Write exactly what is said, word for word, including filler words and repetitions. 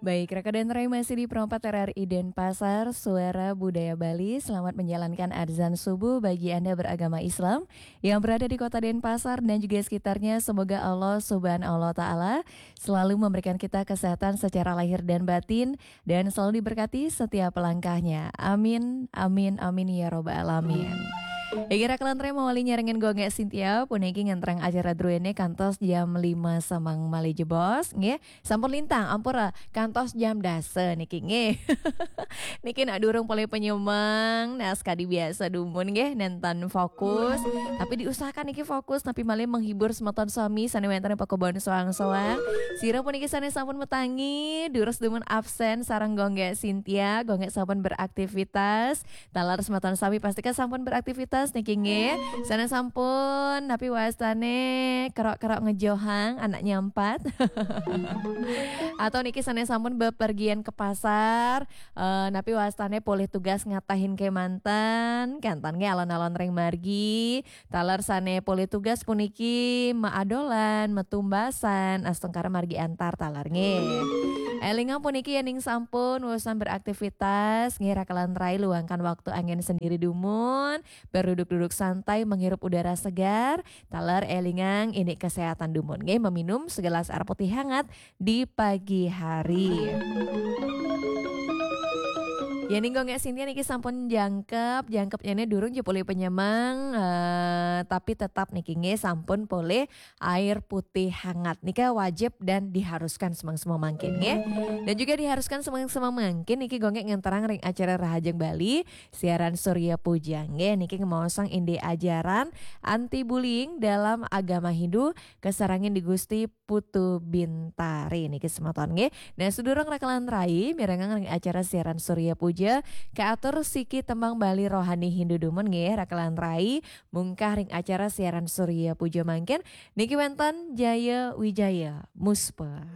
Baik, Raka dan Rai masih di Pro empat R R I Denpasar, Suara Budaya Bali. Selamat menjalankan azan subuh bagi Anda beragama Islam yang berada di kota Denpasar dan juga sekitarnya. Semoga Allah Subhanahu wa Ta'ala selalu memberikan kita kesehatan secara lahir dan batin dan selalu diberkati setiap langkahnya. Amin, amin, amin ya robbal alamin. Iki Raka lan Rai mawali nyarengin Gonggek Sintia, puniki ngentrang acara druene kantos jam lima samang malih jebos, nggih. Sampun lintang, ampura, kantos jam dasa niki nggih. Niki nak durung polih penyemang, nah sekadi biasa dumun nggih, nenten fokus. Tapi diusahakan niki fokus, tapi malih menghibur semeton sami sane wenten ing pakubon soang-soang. Sira puniki sane sampun metangi, durus dumun absen sareng Gonggek Sintia, Gonggek sampun beraktivitas. Taler semeton sami pastika sampun beraktivitas niki nggih. Sane sampun, napi wastane kerok-kerok ngejohang anak nyampat. Atau niki sane sampun bepergian ke pasar, eh, napi wastane polih tugas ngatahin kemanten, kantan nggih alon-alon ring margi. Taler sane polih tugas puniki maadolan, metumbasan, astungkara margi antar taler nggih. Elingang puniki yening sampun wusan beraktivitas, nggih Raka lan Rai luangkan waktu angin sendiri dumun, berduduk-duduk santai menghirup udara segar, taler elingang ini kesehatan dumun nggih, meminum segelas air putih hangat di pagi hari. Yening Gonggek Sintia niki sampun jangkep, jangkepnyane durung ja polih penyemang, eh, tapi tetap niki nggih sampun polih air putih hangat. Nika wajib dan diharuskan semang-semang mangkin nggih. Dan juga diharuskan semang-semang mangkin niki Gonggek ngenterang ring acara Rahajeng Bali, siaran Surya Puja nggih. Niki ngemaosang indik ajaran anti bullying dalam agama Hindu, kasarengin di Gusti Putu Bintari niki semeton nggih. Nah, sadurung Raka lan Rai mirengang ring acara siaran Surya Puja, kaatur siki tembang Bali rohani Hindu dumun nggih Raka lan Rai, mungkah ring acara siaran Surya Puja mangkin niki wenten Jaya Wijaya Muspa.